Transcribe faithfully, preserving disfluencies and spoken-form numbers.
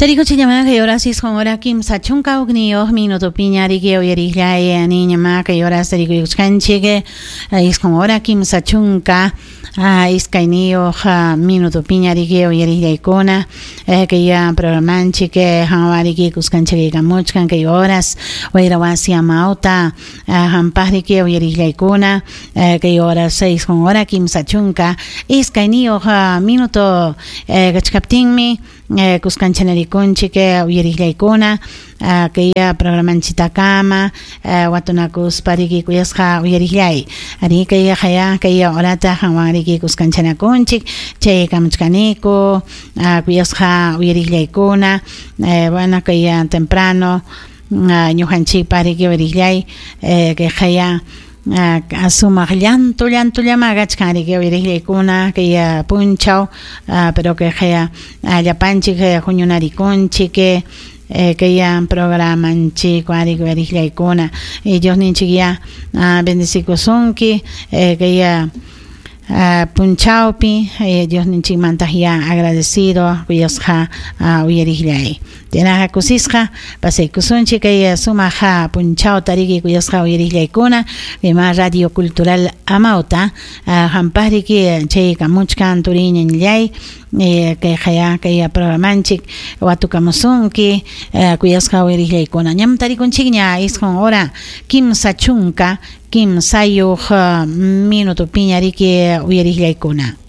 Tarikuchiñamá kay horas isqun hora kimsa chunka hukniyuq minutupiña riki uyariqllay niñamá kay horas tarikuykuchkanchik isqun hora kimsa chunka iskayniyuq minutupiña riki uyariqllaykuna kay programanchik hanwa riki kuskanchikaykamuchkan kay horas wayra wasi amawta hampaq riki uyariqllaykuna kay horas isqun hora kimsa chunka iskayniyuq minuto kachkaptinmi kuskanchanarikunchik uyariqllaykuna kay programanchitakama watunakuspa riki kuyasqa uyariqllay ari kay haya kay horata hanwan riki kuskanchanakunchik chay kamuchkaniku kuyasqa uyariqllaykuna bueno kay temprano ñuqanchikpa riki uyariqllay kay haya sumaq llantu llantullama kachkan riki uyariqllaykuna kay punchaw pero kay haya llapanchik huñunarikunchik kay programanchik riki uyariqllaykuna Diosninchik ya bendecikusunki kay punchawpi Diosninchikmanta ya agradecido kuyasqa uyariqllay Tinaqa kusisqa pasaykusunchik kay sumaq punchawta riki kuyasqa uyariqllaykuna kayma Radio Cultural Amawta hampaq riki chay kamuchkan turiñanllay kay haya kay programanchik watukamusunki kuyasqa uyariqllaykuna ñam tarikunchikña isqun hora kimsa chunka kimsayuq minutupiña riki uyariqllaykuna.